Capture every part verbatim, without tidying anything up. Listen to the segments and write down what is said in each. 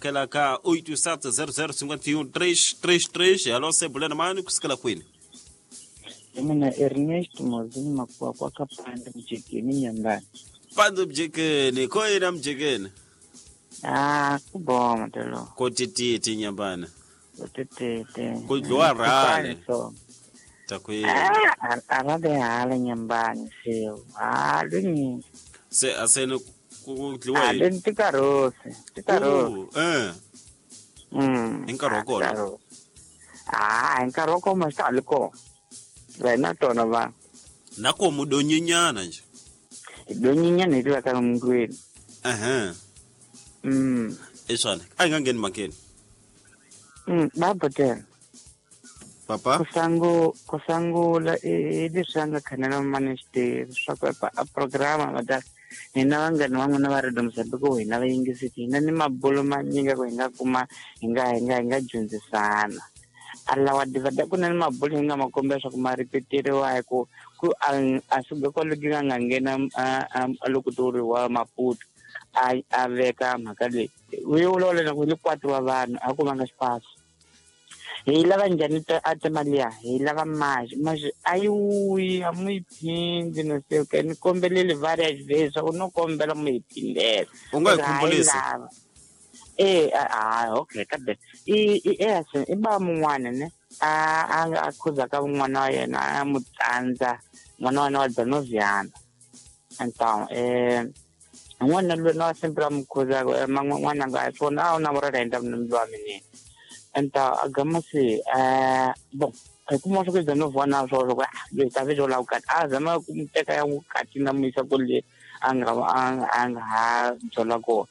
hakela ka oito sete zero zero cinquenta e um três três três. Alô, sebulena mani kusikela kwini? Mina Ernesto Mozini Makuwa kwa kapande mjekeni nyambani. Pande mjekeni, koina mjekeni? Ah, kuboma telo. Kotititi nyambani. Kotititi. Kudlwa rale. Takwini. Ah, arade hale nyambani sio. Ah, lini. Se asene kudliwa. Ah, lini tikarosi, tikarosi. Eh. Mm. Inkaroko. Ah, inkaroko masaliko. Wena tona va. Nako mudonyinyana nje. Donyinyana ile ka mngweni. Aha. Mm. Eswana, ayingangeni makeni. Mm, baba tena. Papa? Kusangu kusangu la e sanga kanana maneste swa pa programa mada hina vangani van'wana va ri Mozambique hina va yingisiti hina ni mabulo manyinga ku hi nga kuma hi nga hi nga hi nga dyondzisana. Alawa divada ku na ni mabulo hi nga ma kombela swa ku ma ripeteriwa hi ku ku a suka kwalo ki nga nghena a loko toriwa Maputo a a veka mhaka leyi u yi vulavula na ku hi kwati wa vanhu a ku vanga xipasi. Hi lava njhani a timali ya hi lava maxi maxi a yi wuyi a mu yi phindi no se ka ni kombeleli various ways swa ku no kombela mu yi phindela u nga yi khumbulisa eh ah okay kambe i i i ba mun'wana ne a a a khuza ka n'wana wa yena a mu tsandza n'wana wa yena wa Danoviana então eh n'wana loyi na sempre a mu khuza n'wana nga swona a wu na murela endla munhu wa mina. Então agama se eh bom kuma swa ku Danoviana swo swo loyi ta vejo la ukati a zama ku teka ya ukati na muyisa kule a nga a nga ha byela kona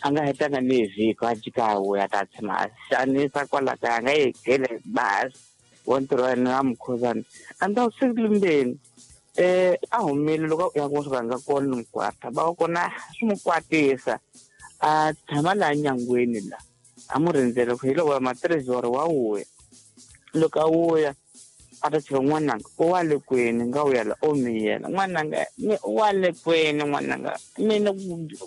a nga hetanga ni vhiki a jika wuya ta tshama a xanisa kwala kaya a nga yi gele basi wa ntirho wa yena a mukhuzana a ni ta siku limbeni eh a humile loko ya ku swi nga kona ni mukwata va kona swi mu kwatisa a tshama laha nyangweni la a mu rindzele ku hi loko ma trezor wa wuya loko a wuya a ta chela n'wananga u wa le kwini nga wuya la o miyela n'wananga u wa le kwini n'wananga mina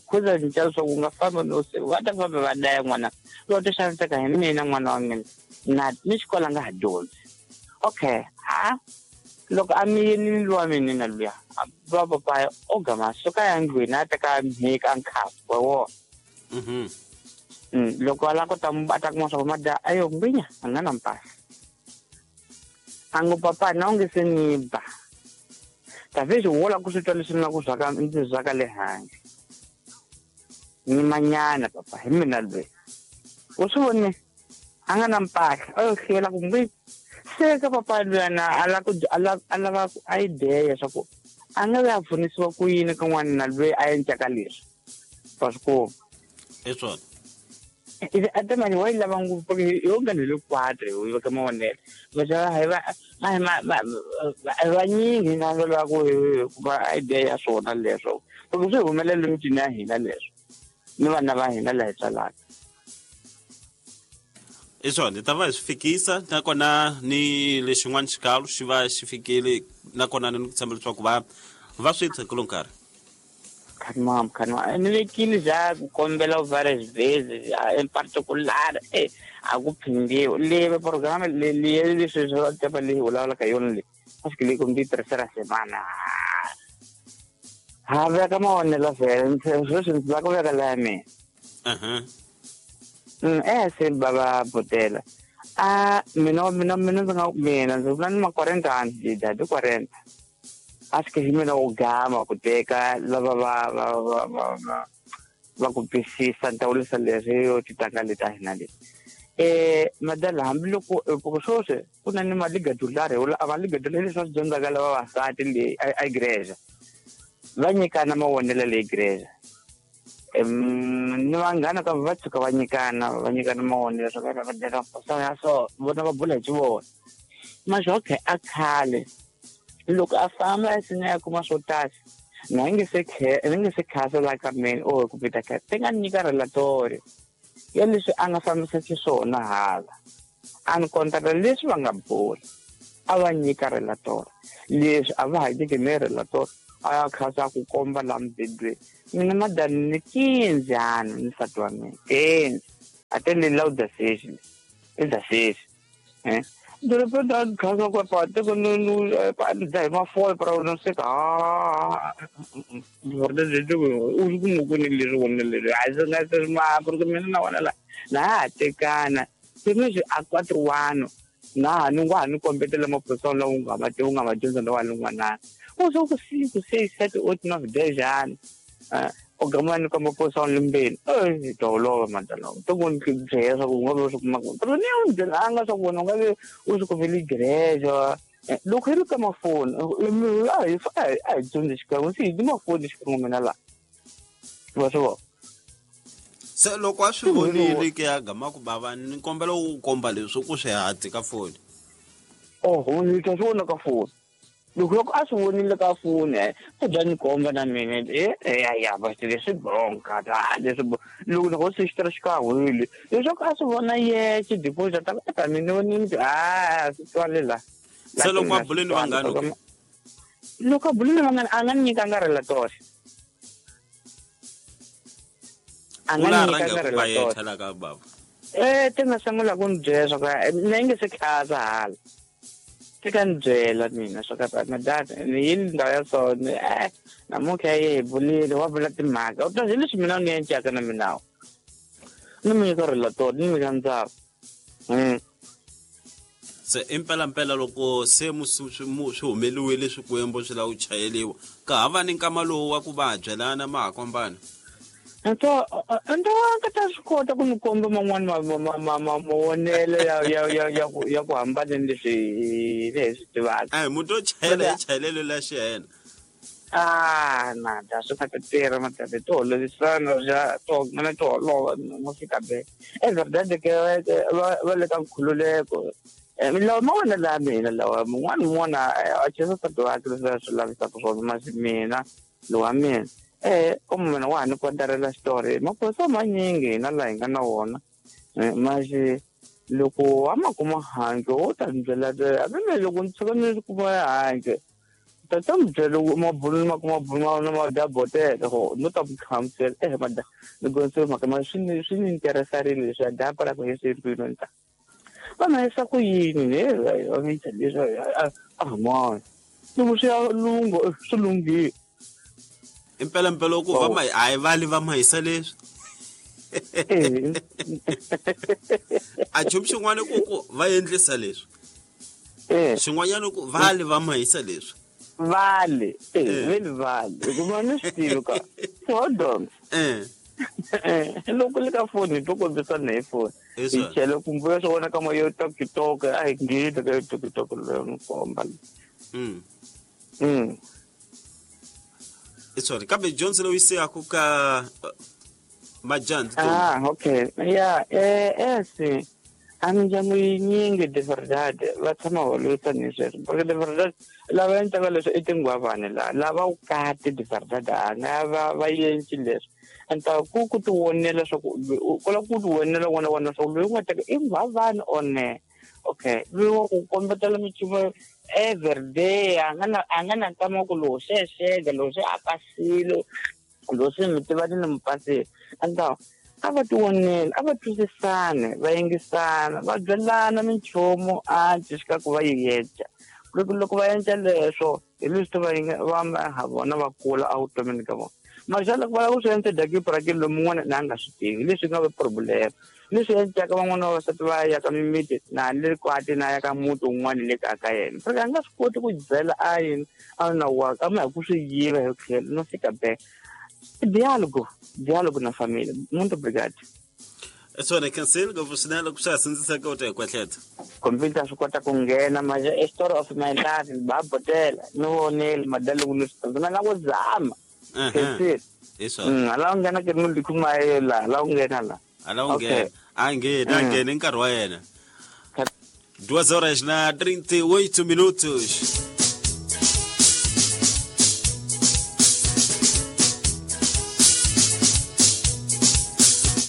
khuza cinca leswaku u nga fambi no se va ta famba va daya n'wana loko ta xaniseka hi mina n'wana wa mina na ni xikolo a nga ha dyondzi okay ha loko a miyelini luwa mina na luya va papaya o gama suka ya ndlwini a teka mhika nkhapu wa wona mhm loko a lava ku ta a ta kuma swa ku madya ayo ngwinya a nga na mpahla ango papa na onge se ni ba talvez wo la ku swi twa leswi ni la ku zwaka ndzi zwaka le handle ni manyana papa hi mina loyi u swi vone a nga na mpahla a yo hlwela ku ngwi se ka papa luyana a la ku a lava ku idea swa ku a nga ve a pfunisiwa ku yini ka n'wana loyi a endlaka leswi wa swi kuma i swona atamani wa yi lava ngopfu yo nga ni le quatre u veka mavonelo va hi va va vanyingi hi nga lava ku kuma idea ya swona leswo loko swi humelela emitini ya hina leswo ni vana va hina laha hi tswalaka i swona hi ta va hi swi fikisa nakona ni lexin'wana xikalo xi va xi fikile nakona ni ku tshemba leswaku va va swi tshekelo nkarhi. Khanmam khanma ni vekile ja ku kombela various ways in particular eh a ku phindiwa le programa le le leswi swa tepa leyi vulavulaka yona le a swi le ku ndi tirhisela semana ha veka mavonelo vhele sweswi ndzi lava ku veka la ya mina aha eh se baba botela a mina mina mina ndzi nga mina ndzi vula ni ma quarenta anos de idade quarenta acho que hi mina u gama ku teka lava va va va va va va ku twisisa ntawulisa leswi yo titanga leti a hina leti eh madala hambiloko ku swoswi ku na ni maligadulari a va ligadulari leswi va swi dyondzaka lava vavasati leyi a igreja va nyikana mavonelo leyi igreja ni vanghana ka va tshuka va nyikana va nyikana mavonelo swa va va so vona va bula hi xivona maxi okay a khale loko a famba a sina ya kuma swo tala na nge se ni nge se khasa la ka mina o ku pita ka te nga nyika relatorio ya leswi a nga fambisa xiswona hala a ni kontaka leswi va nga bula a va nyika relatorio leswi a va ha nyiki ni relatorio a ya khasa ku komba la mubedweni mina madani ni quinze anos ni nsati wa mina quinze A te le la da seis e da seis eh de repente a casa com a parte quando no pa dai ma foi para não sei ah verdade eu o como com ele le le a ma porque mina na wona la na tekana se me a quatro anos na ni wa ni kombetela maphorisa lawa u nga ma u nga ma dyondza lawa lun'wana u so ku cinco seis sete oito nove dez anos o gama ni komba phorisa limbeni eh tolova mandala to ku ni byela swa ku u nga vi u swi kuma pero ni u byelanga swa ku wena u nga vi u swi kumele igreja loko hi ri ka mafoni a hi a hi dyondzi xikan'we se hi ni mafoni xikan'we mina laha wa swi vona. Se loko a swi vonile ke ya gama ku bava ni kombela u komba leswi ku swi hati ka foni. Oho ni ta swi vona ka foni loko loko a swi vonile ka foni u bya ni komba na mina e ya ya va leswi bonka ta leswi loko loko se xi xikan'wile leswaku a swi vona yexe deposit ta ta mina ni ni a swi twale la. Se loko a buleni vanghana loko a buleni vanghana a nga ni nyikanga relator a nga ni nyikanga relator eh te nga sungula ku ni byela swa ku mina yi nge se khaza hala te ka ni byela mina swa ka madata ni yini ndhawu ya so eh namuntlha yi hi bulile wa vula timhaka u ta hi leswi mina ni encaka na mina ni mi nyika relator ni nyika ndzhaku. Se impela mpela loko se swi humeliwile swikwembu swi lava ku chayeliwa ka hava ni nkama lowu wa ku va byelana ma ha kombana. Então, então ka ta swi kota ku ni komba man'wani mavonelo ya ya ya ya ku ya ku hambana ni leswi hi hi swi tivaka. A hi munhu o chayela hi chayelelo la xiyena. Ah, na da swi nga ta tirha madada to holovisana ja to mina to holova mo fika be. É verdade que va va le ka nkhululeko. Milawu ma wena la mina lawa mun'wana mun'wana a chesa nsati wakhe leswi a swi lavisaka swona masi mina lowa mina. Eh como mina wa ha ni kontarela xitori maphorisa manyingi hina laha hi nga na wona maxi loko a ma kuma handle wo ta ni byela hambi loko ni tshuka ni kuma handle ta ta mi byela mabulu ma kuma bulu ma ma dya botela ho no ta ku hlamusela eh mada ni gonse mhaka ma swi ni swi ni interesarile leswi a dya para ku hi swi mpilo ta va ma yisa ku yini ne va mi leswi a mona loko swi ya lungo swi lunghile. Impela mpela ku va ma a hi vali va ma hisa leswi a nchumu xin'wana ku ku va endlisa leswi xin'wanyana ku vali va ma hisa leswi vale eh veli vale hikuva ni swi tivi ka hold on eh loko le ka foni to kombisana hi foni hi chela kumbe swi vona ka moya TikTok a hi ngheni ka TikTok leyo ni komba. Mm mm Sorry, kambe Johnson loyi se aku ka majandzi. Ah, okay. Yeah, eh eh a mindyangu yinyingi de verdade va tshama holovisana hi sweswo porque de verdade lava endlaka leswi i tinghwavani laha lava vukati de verdade a nga va va endli leswi enta ku ku ti vonela swa ku ku lava ku ti vonela wona wona swa ku loyi u nga teka i nghwavani or ne. Okay, loyi wa ku kombetela minchumu every day a nga na a nga na nkama ku lowu se xega lowu se a pasile lowu se mi tivani ni mi pasile enta a va ti vonela a va twisisane va yingisana va byelana minchumu a xikarhi ku va yi endla loko loko va endla leswo hi leswi va va ha vona va kula evutomini ka vona maxa loko va lava ku swi endla dakipurakini lomu un'wana na a nga swi tivi leswi nga va problem leswi endlaka van'wana vavasati va ya ka mimiti na le kwati na ya ka muti wun'wana le kaya ka yena porque a nga swi koti ku byela a yini a na wa a ma hi ku swi yiva hi tlhelo no fika be diálogo diálogo na família. Muito obrigado. Swona cancel ngopfu swinene loko swa ha sindziseka u ta hi kwehleta computer swi kota ku nghena manje a story of my life ba botela ni vonile madalo ni swi na ku zama cancel hi swona ala u nghena ke ni kuma la la u nghena la ala u nghena a nghena a nghena nkarhi wa yena. Duas horas na trinta e oito minutos.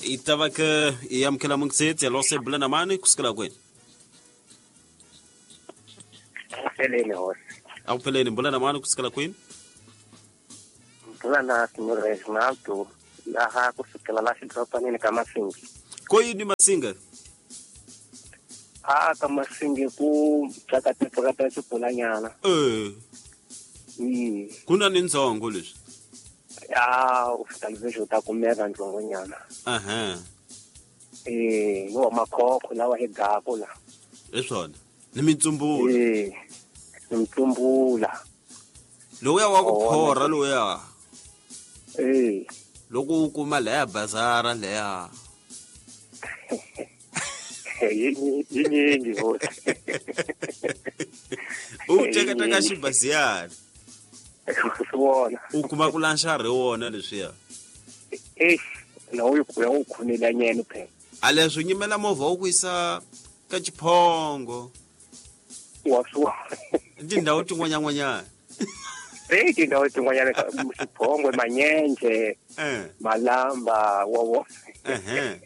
Itava ke yamkela mungsetsi alose bulana mani kusukela kwenu. Peleni hosi. Awupheleni bulana mani kusukela kwenu? Bulana Senhor Reginaldo laha kusukela la xidorobanini ka Masingi. Ko yini Masinga? A ka Masinga ku tsakata xipulanyana. Eh. Mm. Ku na ni ndzongo leswi. Ya, u fika leswi u ta kumeka ndzongonyana. Aha. Eh, no makhokho lawa hi gako la. Hi swona. Ni mitsumbula. Eh. Ni mitsumbula. Lowuya wa ku phorha lowuya. Eh. Loko u kuma leya bazara leya. Yinyingi hosi. U teka teka xibaziyana. Swona. U kuma ku lanxa ri wona leswiya. Eh, na u ku ya u khunela nyene phela. A leswi nyimela movha wu ku yisa ka Xiphongo. Wa swona. Tindhawu tin'wanyan'wanyana. Eh, tindhawu tin'wanyana ka Xiphongo, Manyenje, Eh. Malamba, wa wo. Eh.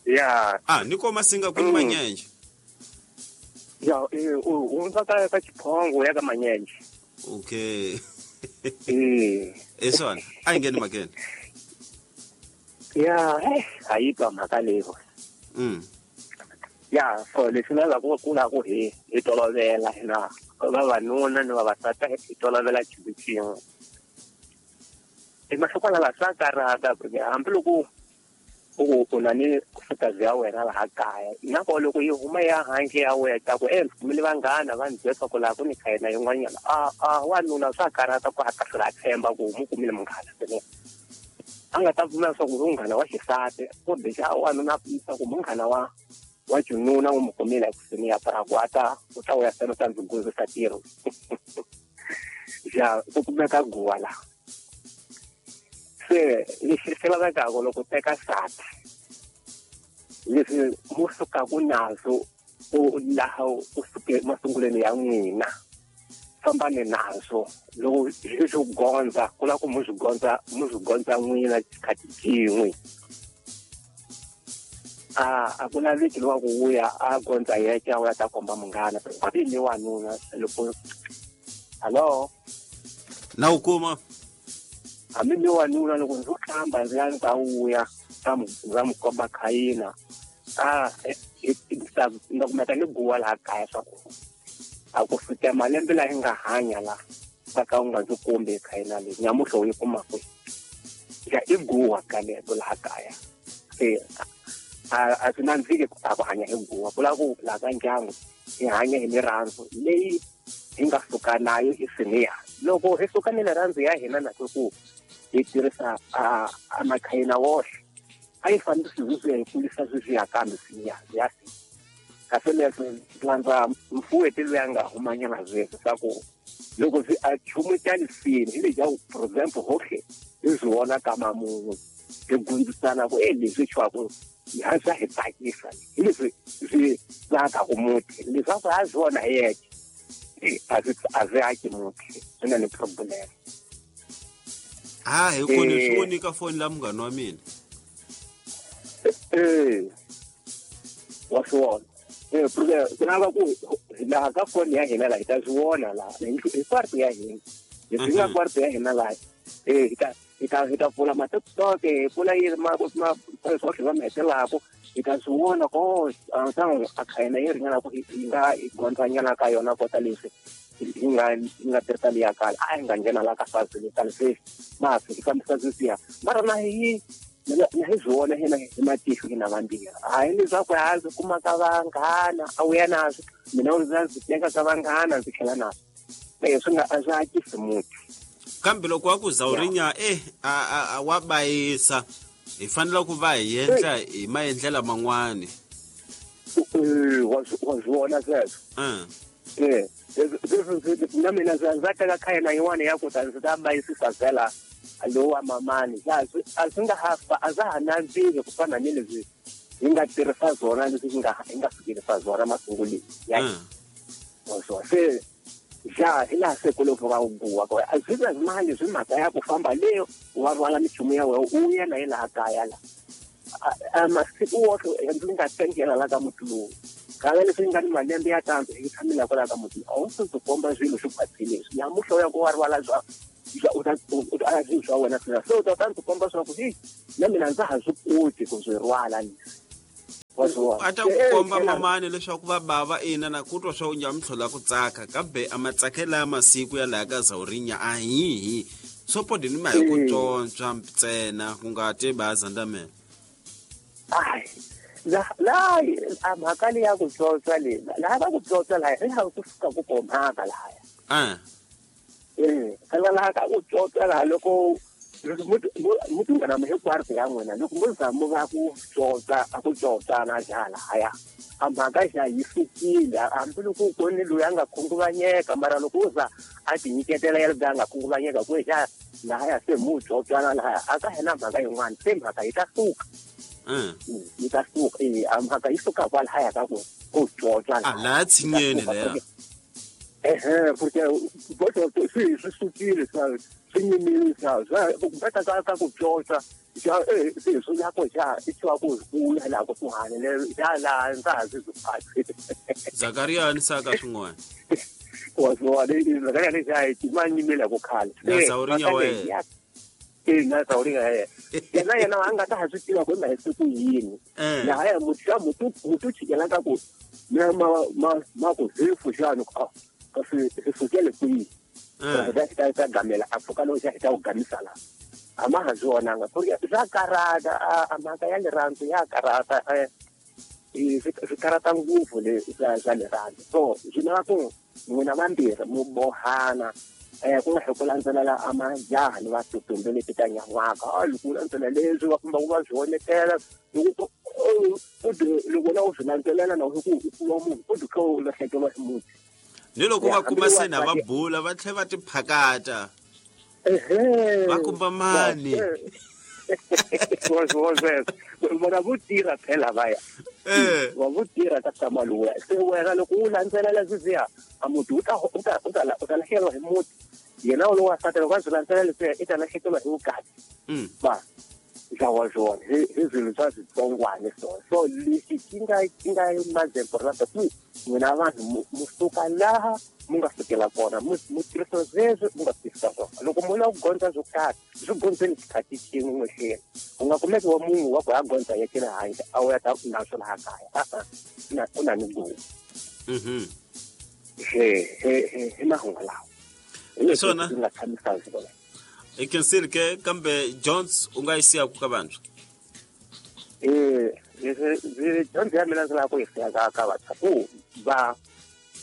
Ya. Ah, ni ko Masinga ku ni Manyenje. Ya, eh, u hundza ka ka Xiphongo ya ka Manyenje. Okay. Eh. E swona, a yi ngheni makene. Ya, eh, a yi twa mhaka leyi. Mm. Ya, so leswi na lava ku la ku hi hi tolovela hina vavanuna ni vavasati hi tolovela xilo xin'we. Emahlokwana laha swa karhata hambiloko u u na ni nkosikazi ya wena laha kaya na ko loko yi huma ya handle ya wena ta ku eh ndzi kumile vanghana va ndzi byela swa ku laha ku ni khayina yin'wanyana a a wanuna swa karhata ku a ta hlwela a tshemba ku mu kumile munghana swinene. A nga ta pfumela swa ku munghana wa xisati kumbe xa wanuna a pfumisa ku munghana wa wa xinuna u mu kumile ekusini ya pra ku a ta u ta vuya fela u ta ndzi guzisa ntirho. Ya ku kumeka guwa laha. Se lexi xi lavekaka loko u teka nsati leswi mu sukaka nazo u laha u suke masungulweni ya n'wina fambani nazo loko swi swi gondza ku lava ku mu swi gondza mu swi gondza n'wina xikhathi xin'we. A a ku laveki lowa ku vuya a gondza yexe a vuya ta komba munghana hambi ni wanuna loko hallo na u kuma hambi ni wanuna loko ndzo hlamba ndzi ya ndzi ta vuya ta mu ndza mu komba khayina a ndza kumeka ni guwa laha kaya swa ku a ku fika malembe laha hi nga hanya la ka ka u nga ndzi kombi khayina leyi nyamuhla u yi kuma kwihi ya i guwa ka lero laha kaya se a a swi nandziki ku ta ku hanya hi guwa ku lava ku laha ka ndyangu hi hanya hi mirirhandzu leyi hi nga suka nayo isiniya loko hi suka ni rirhandzu ya hina na ku hi tirhisa a a makhayina woxe a yi fanele swi swi hi kulisa swi ya kambe siniya ya si kasi leswi landza mfuweti loyi a nga humanyana sweswi swa ku loko swi a chumu xa lisini hi lexa for example hohle hi swi vona ka mamun'we hi gundzisana ku e leswi xwaku ha swa hi tsakisa hi leswi swi tsakaku muti leswaku a swi vona hi yexe a swi a swi aki muti swi na ni problem. Ah, hi ku ni swi voni ka foni la munghana wa mina. Eh. Wa swi vona. Eh, porque ku lava ku laha ka foni ya hina laha hi ta swi vona laha hi kwarto ya hina hi swi nga kwarto ya hina laha eh hi ta hi ta hi ta pfula ma-TikTok hi pfula yini ma ma swohle va mi hetelaka hi ta swi vona ko ntango a khayina yi ringana ku hi nga hi gondzanyana ka yona kota leswi hi nga hi nga tirhisa liya kala a hi nga nghena la ka fazi letani sweswi ma hi fambisa sweswiya mara na hi na hi swi vona hina hi matihlo hina vambirhi hayi leswaku ha ndzi kuma ka vanghana a wu ya naswo mina u ndzi ndzi teka ka vanghana ndzi tlhela naswo e swi nga a swi akisi muti. Kambe loko wa ku zawurinya eh a a wa bayisa hi fanele ku va hi endla hi maendlela man'wani. Eh wa wa swi vona sweswo. Eh leswi na mina ndzi ndza teka khayina yin'wana ya ku ta ndzi ta bayisisa vhela lowa mamani a swi a swi nga ha a swa ha nandziki ku fana ni leswi hi nga tirhisa swona leswi hi nga hi nga fikelisa swona masunguleni ya wa se ja hi laha se ku loko va guwa ko a swi nga mali swi mhaka ya ku famba leyo wa rhwala minchumu ya wena u ya na hi laha kaya la a masiku woxe ndzi nga tengela la ka muti lowu kala leswi nga ni malembe ya tandzu hi tshamela kwala ka muti a wu swi ndzi komba swilo swi khwatsile leswi nyamuhla u ya ku wa rhwala swa u ta u ta swa wena swina se u ta ta ndzi komba swa ku hi na mina ndza ha swi koti ku swi rhwala leswi. A ta ku komba mamani leswaku va bava ina na ku twa swa u nyamutlhola ku tsaka kambe a matsakela ya masiku ya laha ka Zawurinya a hihi sopodi ni ma hi ku tsontswa ntsena ku nga te baza ndamela ai la la a mhaka leyi ya ku tsontswa leyi laha va ku tsontswa laha hi laha ku fika ku komhaka lahaya a eh phela laha ka ku tsontswa laha loko mutu ngana ma hinkwaro ya n'wina loko mo za mo va ku tsotsa a ku tsotsana jala haya a mhaka xa yi sukile hambi loko ku ni loyi a nga khunguvanyeka mara loko u za a ti nyiketela ya loyi a nga khunguvanyeka ku xa lahaya se mu tsotsana lahaya a ka hina mhaka yin'wana se mhaka yi ta suka yi ta suka e a mhaka yi suka kwalahaya ka ku ku tsotsa a laha tshinyeni leya ehe porque boto swi swi sukile swa swi nyimile swa swa ka ka ku tsotsa xa eh se swi la ko xa i twa ku ku la ku kuhane le ya la ndza ha swi phatsi Zakaria ni saka swin'wana wa swa le Zakaria ni xa i ma nyimile ku khale na Zawurinya we eh na Zawurinya ye yena yena a nga ta ha swi tiva ku ma hi ku yini la ya muthu muthu muthu chikela ka ku ma ma ma ku hefu xana ku kasi hi sukele kwihi va ta ta gamela a pfuka loko xa hi ta ku gamisa la a ma ha swi vonanga porque swa karata a mhaka ya rirhandzu ya karata swi karata ngopfu le swa swa rirhandzu so swi lava ku n'wina vambirhi mu bohana um ku nga hi ku landzelela a majaha ni vatutumbe leti ta nyan'waka a loko u landzelela leswi va famba ku va swi onetela loko loko na u swi landzelela na ku u kuma munhu u dukha u lahlekeriwa hi muti ni loko va kuma se na va bula va tlhe va tiphakata va kumba mani vona vo tirha phela va ya va vo tirha ka tshama luya se wena loko u landzelela leswiya a muti u ta u ta u ta u ta lahlekeriwa hi muti yena u lowa sati loko a swi landzelela leswiya i ta lahlekeriwa hi vukati va swa swona hi hi swilo swa switsongwana swona so lexi xi nga xi nga mazemporata ku n'wina vanhu mu suka laha mu nga sukela kona mu mu tirhisa sweswo mu nga tirhisa swona loko mu lava ku gondza swo karhi swi gondzeni xikhathi xin'we n'wexeni u nga kumeki wa munhu wa ku ya gondza ya le handle a wu ya ta na swo laha kaya a-a na u na ni gowu he he hi mahungu lawa hi leswi ndzi nga tshamisa swona i khensile ke kambe Jones u nga yi siyaku ka vantshwa eh dyondzo ya mina ndzi lava ku yi siya ka ka vantshwa ku va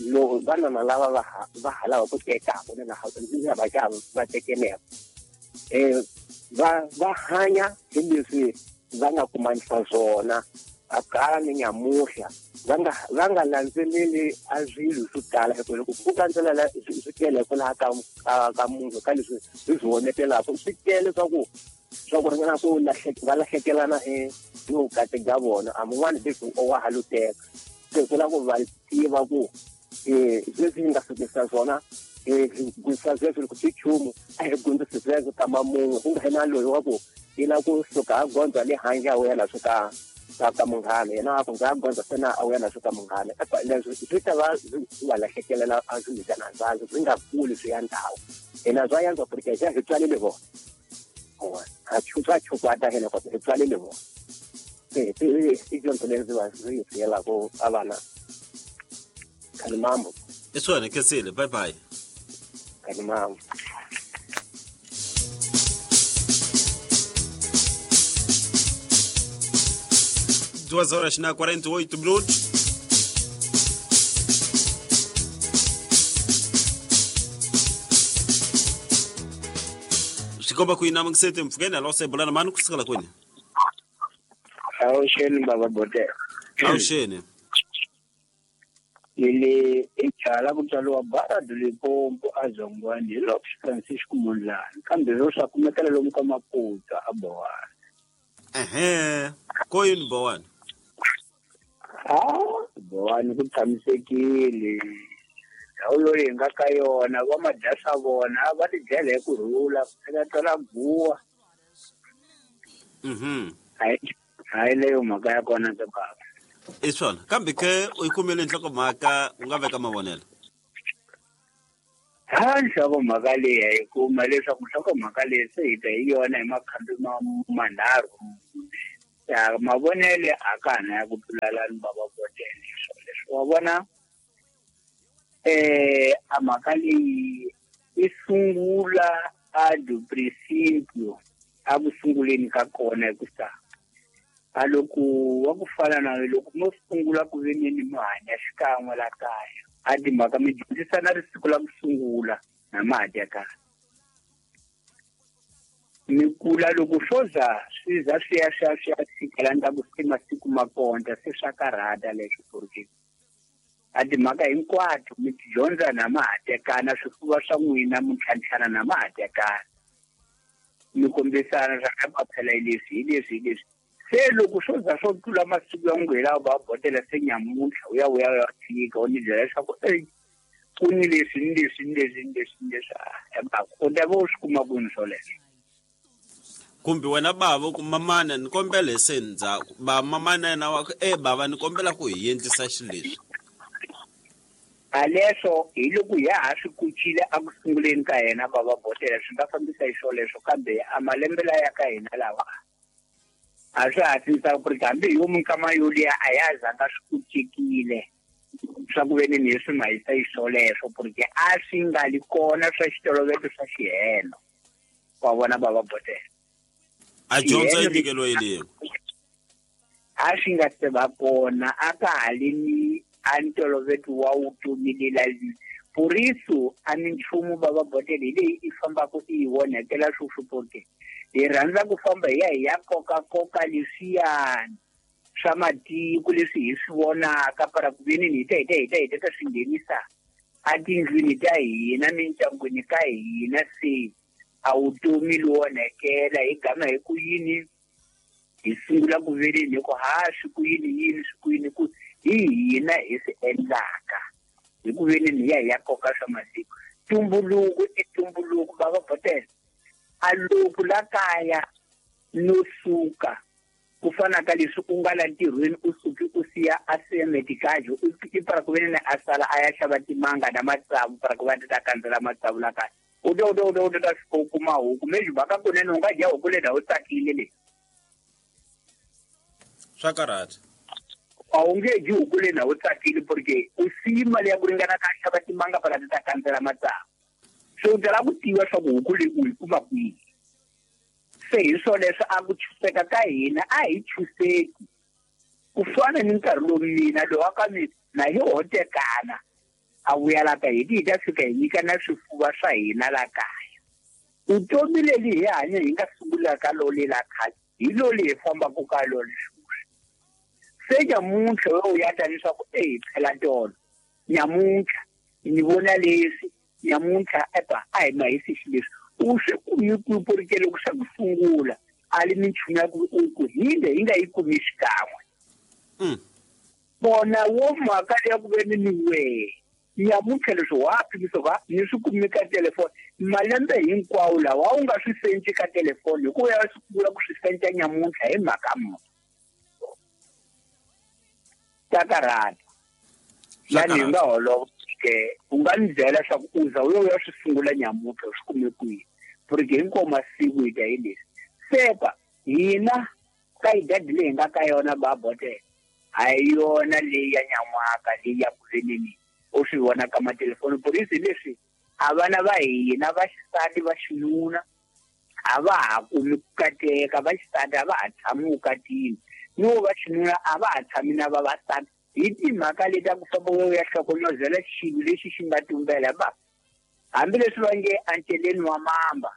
lo vanana lava va va ha lava ku tekaka ni na va va va tekeleka eh va va hanya hi leswi va nga kumanisa swona a kala ni nyamuhla va nga va nga landzeleli a swilo swo tala hi ku loko ku landzelela swi tele kwalaha ka ka munhu ka leswi hi swi vonetelaka swi tele swa ku swa ku ringana ku va lahlekelana hi hi vukati bya vona a mun'wani leswi wa ha lo teka se ku lava ku va tiva ku um sweswi hi nga fikisa swona hi gundisa sweswo loko swi nchumu a hi gundisi sweswo kama munhu ku nga hi na loyi wa ku i lava ku suka a gondza le handle a wela swo ka ka munghana yena a ku ndza gondza sena a wena swo ka munghana leswi swi ta va swi va lahlekelela a swi nyikana ndzhaku swi nga kuli swi ya ndhawu hina swa yantswa porque xa hi tswalele vona ha swa chukwata hina kota hi tswalele vona se i dyondzo leyi ndzi va ndzi yi siyelaka a vana khani mambo i swona khensile bye bye khani mambo duas horas na quarenta e oito minutos. Xikomba ku yina mangisete mpfukeni alo se bulana mani kusukela kwini? Awuxeni baba bote. Awuxeni. Ile ichala ku tswariwa Barad Limpopo a Zongwani hi Lopes Francisco Mondlane kambe ro swa kumekela lomu ka Maputo a Bowani. Ehe, ko yini Bowani? Ah, Bowani ku tshamisekile. Ndhawu loyi hi nga ka yona va madya swa vona va ti dyela hi ku rhula ku twala guwa. Mhm. Hayi hayi leyo mhaka ya kona ke baba. I swona kambe ke u yi kumile nhlokomhaka u nga veka mavonelo. Ha nhlokomhaka leyi hi kuma leswaku nhlokomhaka leyi se hi ta hi yona hi makhambi ma manharhu. Ya mavonele a ka ha na ya ku tlulelani bava botele swoleswo wa vona eh a mhaka leyi i sungula a do princípio a ku sunguleni ka kona hi ku sa a loko wa ku fana na loko mo sungula ku ve ni mi hanya xikan'we la kaya a timhaka mi dyondzisana risiku la ku sungula na ma ha tekana mi kula loko swo za swi za swi ya swi ya swi ya fikela ndzhaku se masiku ma konta se swa karhata leswo porque a timhaka hinkwato mi ti dyondza na ma ha tekana swifuva swa n'wina mi ntlhantlhana na ma ha tekana mi kombisana swa ka phela hi leswi hi leswi hi leswi se loko swo za swo tlula masiku ya n'wi lawa va botela se nyamuntlha u ya u ya u ya fika u ni byela leswaku ey ku ni leswi ni leswi ni leswi ni leswi ni leswi u ta va u swi kuma kwini swoleswo kumbe wena bava ku mamana ni kombela hi se ndzhaku ba mamana yena wa ku e bava ni kombela ku hi endlisa xileswi a leswo hi loko ya ha swi kucile a ku sunguleni ka yena bava botela swi nga fambisa hi swoleswo kambe a malembe laya ka hina lawa a swi hatlisa ku ri hambi hi yo minkama yoliya a ya zanga swi kucekile swa ku ve ni ni swi mahisa hi swoleswo porque a swi nga li kona swa xitoloveto swa xihelo wa vona bava botela a dyondzo yi nyikeliwe yini a swi nga se va kona a ka ha li ni a ntoloveto wa vutomi lela por isso a minchumu bava botela hi leyi i fambaka i yi onhakela sweswi porque hi rhandza ku famba hi ya hi ya kokakoka leswiyani swa matiko leswi hi swi vonaka para ku veni hi ta hi ta hi ta hi ta ta swi nghenisa etindlwini ta hina mindyangwini ka hina se a vutomi lowu onhakela hi gama hi ku yini hi sungula ku veleni hi ku ha swi ku yini yini swi ku yini ku hi hina hi swi endlaka hi ku veni hi ya hi ya koka swa masiku tumbuluko i tumbuluko bava botela a loko la kaya no suka ku fana ka leswi u nga la ntirhweni u suki u siya a siya medikajo i para ku veni a sala a ya xava timanga na matsavu para ku va ta kandzela matsavu la kaya u ta u ta u ta u ta fika u kuma huku maybe mhaka kunene u nga dya huku leyi u tsakile leyi swa karhata a wu nge dyi huku leyi u tsakile porque u siyi mali ya ku ringana ka xava timanga para ti ta kandzela matsavu se u ta lava ku tiva swa ku huku leyi u yi kuma kwihi se hi swoleswo a ku chuseka ka hina a hi chuseki ku fana ni nkarhi lowu mina lowu wa ka mina na hi ho tekana a vuya la ka hina hi ta fika hi nyika na swifuva swa hina la kaya vutomi leli hi hanya hi nga sungula ka lole la khale hi loli hi fambaka ka lole sweswi se nyamuntlha we u ya ta leswaku e phela tolo nyamuntlha ni vona leswi nyamuntlha epa a hi mahisi xileswi u swi kumi kwihi porque loko swa ku sungula a li minchumu ya ku u ku hinde hi nga yi kumi xikan'we vona wo mhaka ya ku ve ni ni wehe nyamuntlha leswi wa pimisa va ni swi kumi ka telefoni malembe hinkwawo lawa u nga swi senci ka telefoni hikuva ya sungula ku swi senca nyamuntlha hi mhaka muni ta karhata yani hi nga holova ke u nga ni byela leswaku u za u yo ya swi sungula nyamuntlha u swi kume kwihi porque hinkwawo masiku hi ta hi leswi sepa hina ka idadi leyi hi nga ka yona ba botela a hi yona leyi ya nyan'waka leyi ya ku veneni u swi vona ka matelefoni polisi leswi a vana va hina va xisati va xinuna a va ha kumi ku kateka va xisati a va ha tshami vukatini no va xinuna a va ha tshami na vavasati hi timhaka leti ta ku famba u ya hlokomozela xilo lexi xi nga tumbela ba hambileswi va nge enceleni wa mamba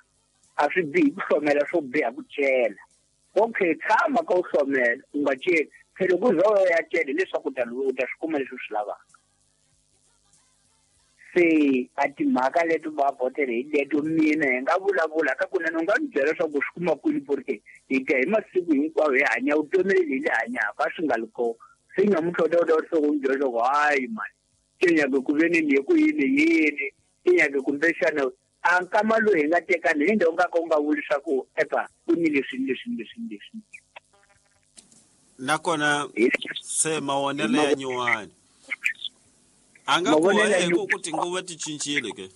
a swi bihi ku hlomela swo biha ku cela okay tshama ka u hlomela u nga celi phela ku za u ya cela hileswaku u ta u ta swi kuma leswi u swi lavaka se a timhaka leti va botele hi leto mina hi nga vulavula ka kunene u nga ni byela leswaku u swi kuma kwini porque hi ta hi masiku hinkwawo hi hanya vutomi leli hi li hanyaka a swi nga li kona se nyamuntlha u ta u ta u ni byela leswaku hayi mani ke nyake ku ve ni ni ku yini yini ke nyake kumbexana a nkama lowu hi nga tekana hi ndhawu nga ka u nga vuli leswaku epa ku ni leswi ni leswi ni leswi ni leswi nakona se mavonelo ya nyuwani a nga ku hi ku tinguva ti cincile ke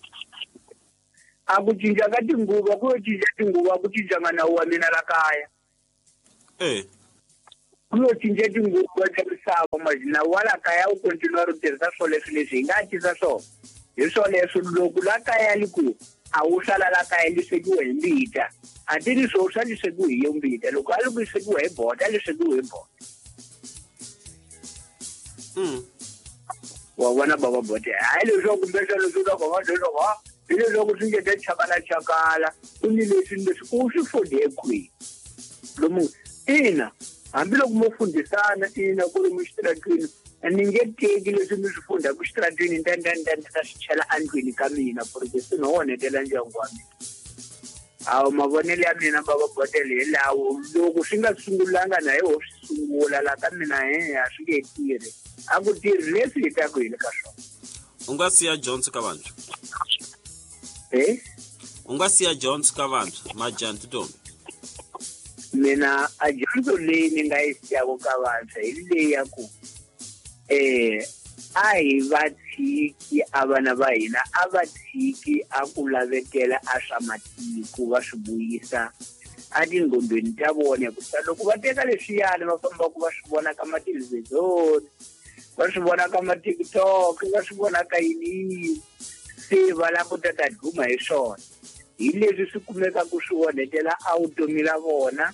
a ku cinca ka tinguva ku yo cinca tinguva a ku cincanga nawu wa mina la kaya eh Ku lo cinca tinguva ta misava mazina wala kaya u continue ro tirhisa swoleswo leswi hi nga tisa swona hi swoleswo loko la kaya li ku a wu sala la kaya li swekiwe hi mbita a ti ri swo swa li swekiwe hi yo mbita loko a li ku swekiwe hi bota li swekiwe hi bota mm wa vona baba bote hayi leswaku kumbexana swi ta ku va leswaku ha hi leswaku swi nge ta chakala chakala ku ni leswi leswi u swi funde kwihi lomu ina hambiloko mo fundisana ina ku ri muxitaratwini ni nge teki leswi mi swi fundaka xitaratwini nda nda nda nda swi chela endlwini ka mina porque swi no onhetela ndyangu wa mina hawu mavonelo ya mina baba botele hi lawo loko swi nga sungulanga na hi ho swi sungula la ka mina he a swi nge tirhi a ku tirhi leswi hi taku hi le ka swona u nga siya Jones ka vantshwa eh u nga siya Jones ka vantshwa majani tintombi mina a dyondzo leyi ni nga yi siyaka ka vantshwa hi leyi ya ku eh a hi va tshiki a vana va hina a va tshiki a ku lavetela a swa matiko va swi vuyisa a tinghondweni ta vona hikusa loko va teka leswiyani va fambaka va swi vona ka mathelevhizoni va swi vona ka ma-TikTok va swi vona ka yini yini se va lava ku ta ta duma hi swona hi leswi swi kumekaka swi onhetela a vutomi la vona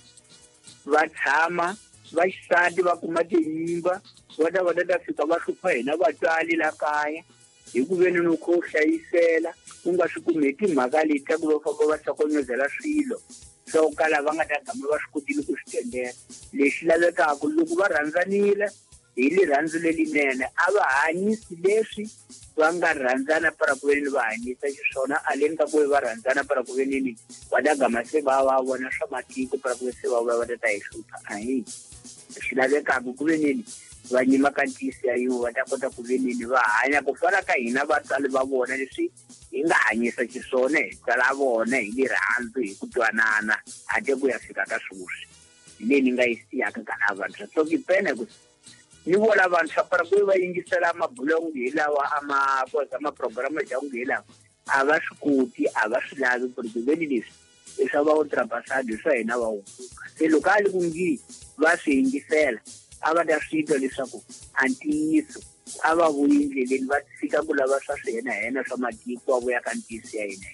va tshama va xisati va kuma tinyimba va ta va ta ta fika va hlupha hina vatswari la kaya hi ku veni no kho u hlayisela u nga swi kumi hi timhaka leti ta ku va famba va hlokonyozela swilo swo kala va nga ta gama va swi kotile ku swi tendela lexi lavekaka loko va rhandzanile hi rirhandzu lelinene a va hanyisi leswi va nga rhandzana para ku venini va hanyisa xiswona aleni ka ku ve va rhandzana para ku venini va ta gama se va va vona swa matiko para ku ve se va vuya va ta ta hi hlupha ahi swi lavekaka ku venini va nyima ka ntiyiso ya yin'we va ta kota ku venini va hanya ku fana ka hina vatswari va vona leswi hi nga hanyisa xiswona hi tswala vona hi rirhandzu hi ku twanana handle ku ya fika ka sweswi hi leyi ni nga yi siyaka ka lava vantshwa so ki pene ku ni vona vantshwa para ku va yingisela mabulo hi lawa a ma koza ma-program ya nge hi lawa a va swi koti a va swi lavi ku ri veni leswi i swa va ultrapasado swa hina va hunguka se loko a li ku ngi va swi yingisela a va ta swi twa leswaku a ntiyiso a va vuyi ndleleni va tshika ku lava swa swihenahena swa matiko va vuya ka ntiyiso ya hina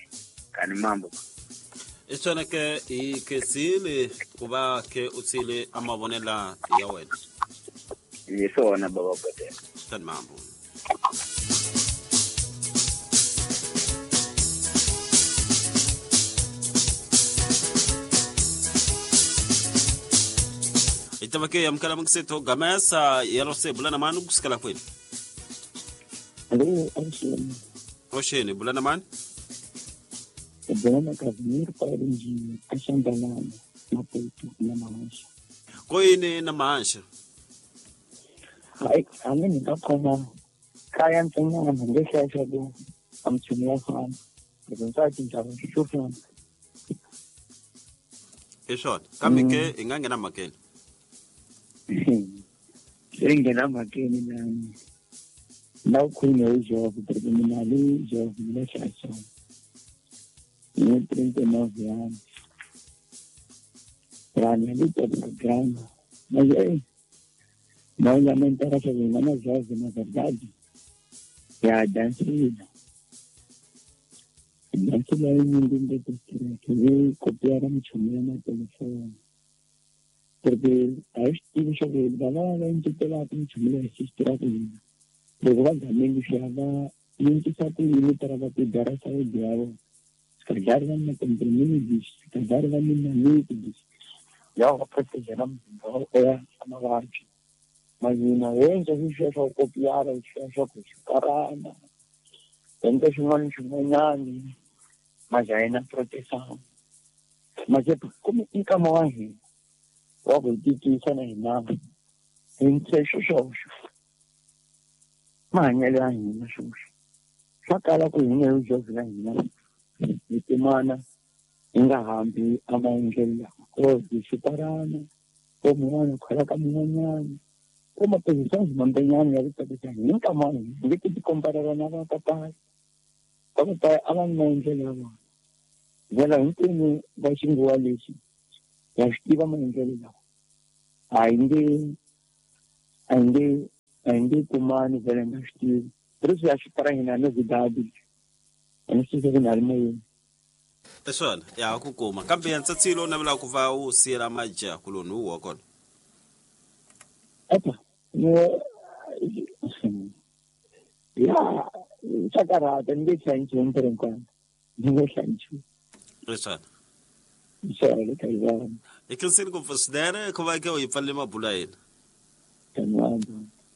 kani mambo i swona ke hi khensile ku va ke u tshile a mavonela ya wena hi swona baba botela tani mambo hi ta va ke amukela muksetho gamesa yero se bulana mani kusukela kwini Alô, Oxene. Oxene, bulana mani Bulana Casimiro Pairindinho, Axambalana, Maputo, na Mahanxa. Koyini na Mahanxa? Hayi, a ni nga khoma kaya ntsena ngexesha ku a mchumi ya fana. Loko ndza cinca xo fana. I swona kambe ke hi nga nghena mhakeni Se nghena mhakeni na na u khulume hi job porque mina le job mina xaxa. Ni trinta e nove anos. Pra mim, ali programa. Mas aí, não já me interessa bem, mas jovem, na verdade, é a dançarina. A dançarina é um mundo que veio copiar a minha no telefone. Porque aí estive sobre ele, lá em tutelar a minha assistir a minha. Porque também chama, não te sabe o para cuidar a saúde dela. Carregar na comprimidos, carregar na líquidos. Já vou proteger a é uma arte. Mas na vez a gente já copiar, a gente já caramba. Tenta chamar de manhã, mas aí na proteção. Mas é como em Camões, logo de que isso não é nada. Entre os Mas ele ainda só aquela coisinha eu jogo ainda. Mitimana ingahambi amaendlelo kozixiparana komun'wana khwela ka mun'wanyana ko mapositions mambenyana ya ku tsakisa hi nkamana nge ti ti komparela na va papayi va papayi a va ni maendlelo ya vona ndlela hinkwenu va xinguwa lexi ya swi tiva maendlelo lawa A hi nge a hi nge a hi nge kumani vhele nga swi tivi. Por isso ya xipara hina novidade. A ni swi tivi na ri moyeni. Swona ya ku kuma kambe ya ntsatsilo u navela ku va u siyela majaha kuloni wu wa kona. Apa no ya swa karhata ni nge hlayi nchumu por enquanto ni nge hlayi nchumu. Swona swona ka yona i khensile ngopfu swinene ku va ke u yi pfalele mabulo ya hina.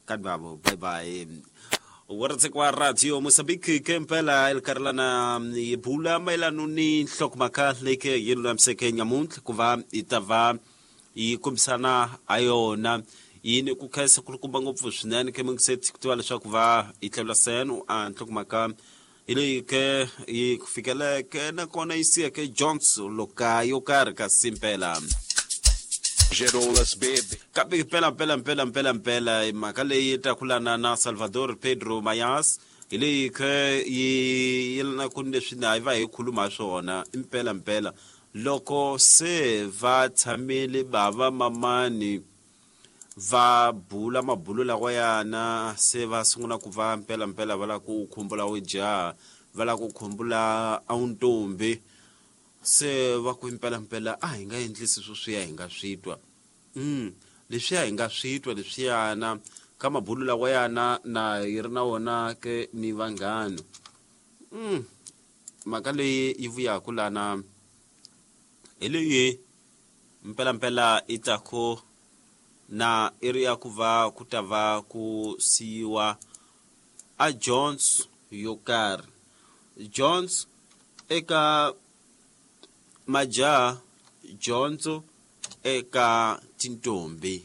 Kanwabo bye bye. Wa radio Mozambique ke mpela elikarelana yi bula mayelana ni nhlokomhaka leyi ke yi lulamiseke nyamuntlha ku va yi ta va yi kombisana ha yona yini ku khensa kulukumba ngopfu swinene ke mingiseti ku tiva leswaku va yi tlhela seno a nhlokomhaka hi leyi ke yi ku fikeleke nakona yi siyeke Jones loka yo karhi kasi mpela kambe mpela mpela mpela mpela mpela mhaka leyi ta kulana na Salvador Pedro Mayas hi leyi ke yi yelana ku ni leswi na hi va hi khuluma swona impela mpela loko se va tshamile bava mamani va bula mabulo lawa yana se va sungula ku va mpela mpela va la ku khumbula wujaha va la ku khumbula a ntombi se va ku mpela mpela a hi nga endlisi sweswiya hi nga swi twa mm leswiya hi nga swi twa leswiyana ka mabulo lawa yana na yi ri na wona ke ni vanghana mm mhaka leyi yi vuyaku lana hi leyi mpela mpela i ta ku na i ri ya ku va ku ta va ku siyiwa a Jones yo karhi Jones eka majaha Jones eka tintombi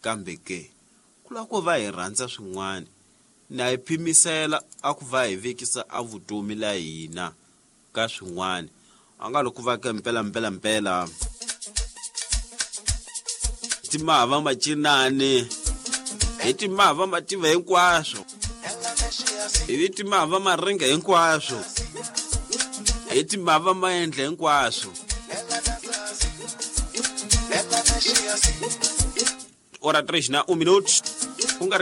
kambe ke ku lava ku va hi rhandza swin'wana na hi phimisela a ku va hi vekisa a vutomi la hina ka swin'wana a nga loko va ke mpela mpela mpela timava macinani hi timava mativa hinkwaswo hi timava maringa hinkwaswo hi timava maendla hinkwaswo ora três na um minuto ku nga ri